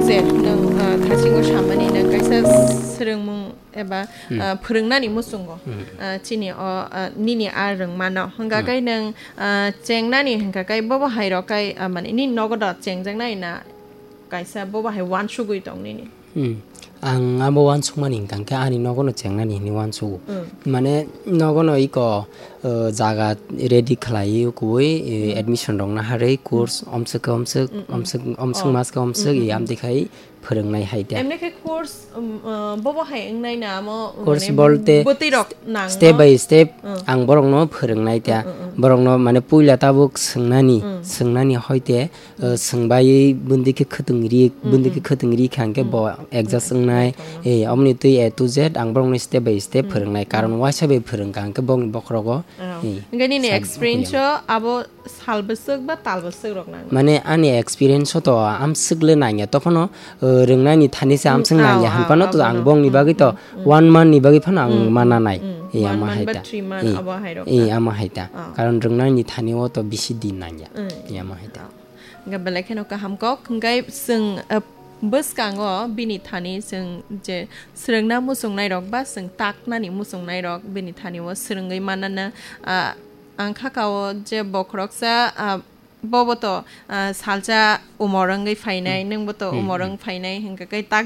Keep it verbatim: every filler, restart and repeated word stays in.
Je nwng, ah, thasingo samani nwng kaisa swrwngmung eba, Hmm. ah, phwrwngnani muchungo, Hmm. ah, chini o, ah, nini a rwngmano. Hwnkha Hmm. khe nwng, ah, chengnani hwnkha khe bobo hai rok khe, ah, mane nini nogo do chengjaknai na kaisa bobo hai uansugwi tong nini? Hmm. Ang abo uansukmani hwnkha khe ani nogono chengnani hinwi uansugo. Hmm. Mane nogono iko, uh, jaga ready khlaiwi kubui, eh, Hmm. admission rokna harwi course Hmm. omswk khe omswk, Hmm, hmm. omswk, omswk Oh. mas khe omswk, Hmm, hmm, i hmm. amtwi khai phwrwngnai hai ta. Emne khe course, um, uh, bobo hai wngnai na amo, Course mane, bolte bwtwi rok st-, nang step no? by step Hmm. ang borokno phwrwngnai ta. Hmm, hmm, hmm. Borokno mane puila tabuk swngnani, Hmm. swngnani hoite, uh, Hmm. swngbai bundi khe khwtwng ri, Hmm, bundi khe hmm. khwtwng ri kha hwnkhe Hmm. bo adjust Hmm. wngnai. Hmm. Eh, omni twi A to Z ang borokno step by step Hmm. phwrwngnai. Karon Hmm. waisa bai phwrwngkha hwnkhe bongni bokhorogo, Oh. eh, Hwnkhe nini sal experience phiyang. O abo sal bwswk ba tal bwswk rok nang? Mane ani experience o to amswk le nangya, tokhono, uh, rwngnani thani se Mm, amswk nangya, ah, hwnphano ah, to ang abono. Bongni Mm, bagwi to mm, mm. One month ni bagwi phano ang Mm, mana mm, nai. Mm. Eh, One ama month hai ba ta. Three month Eh, abo hai rok eh, na? Ama hai ta. Ah. Karon rwngnani thani o to bisi din nangya. Mm. Eh, ama hai ta. Ah. Hwnkhe belai kheno kaham kok, hwnkhe chwng, uh, bwskango bini thani chwng je swrwngna muchungnai rok ba chwng taknani muchungnai rok bini thani o swrwngwi manana, ah, Ang kha kao je bokhoroksa, ah, bobo to, ah, salsa umor wngwi phainai, Hmm. nwngbo to Hmm, umor hmm. Wng phainai, hwnkhe khe tak